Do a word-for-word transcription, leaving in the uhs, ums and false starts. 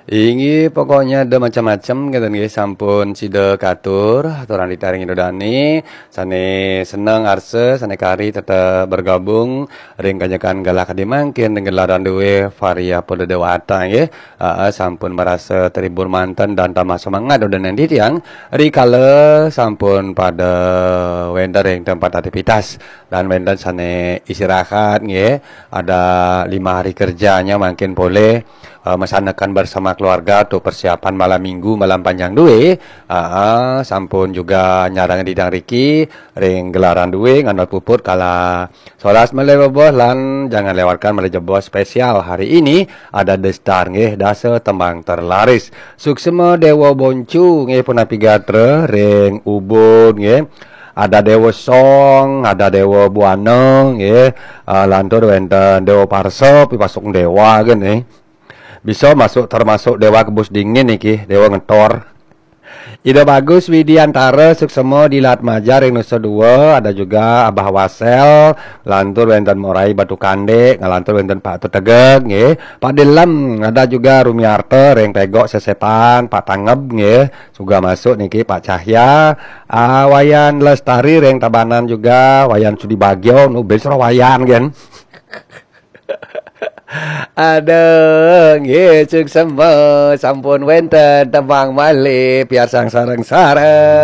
Inggih, pokoknya ada macam-macam, kata nggih, sampun sida katur, aturan ditaring Ida Dani, sane seneng arsa, sane kari tetep bergabung ring kanjekan galah kadi mangkin ring gelaran duwe Varia Polda Dewata nggih. Aa, sampun merasa terhibur manten dan tambah semangat udah nanti tiang. Rikala sampun pada wenten ring tempat aktivitas dan wenten sane istirahat nggih. Ada lima hari kerjanya mangkin boleh eh, mesanakan bersama keluarga tu persiapan malam minggu, malam panjang duwe. Aa, sampun juga nyarang didang riki ring gelaran duwe nganut puput kala solas malih beboh lan jangan lewatkan malih jeboh spesial hari ini ada The Star nggih, dasa tembang terlaris. Suksema Dewa Boncu nggih, punapi gatra ring Ubud nggih. Ada Dewa Song, ada Dewa Buana nggih. Ah, lantur wenten Dewa Parsa, pipasuk Dewa nggih. Bisa masuk termasuk Dewa Kebus Dingin niki, Dewa Ngetor. Ida Bagus Widiantara Suksema di Latmaja ring Nusa Dua, ada juga Abah Wasel, lantur wenten Morai Batu Kandek, ngalantur wenten Pak Tetegeg nggih. Pak Dilem, ada juga Rumiarta ring Pegok Sesetan, Pak Tangeb nggih. Suga masuk niki Pak Cahya, ah, Wayan Lestari ring Tabanan juga, Wayan Sudi Bagio, nu bis roh Wayan kan. Aduh, nggih, suksema, sampun wenten tembang malih, piarsang sareng-sareng.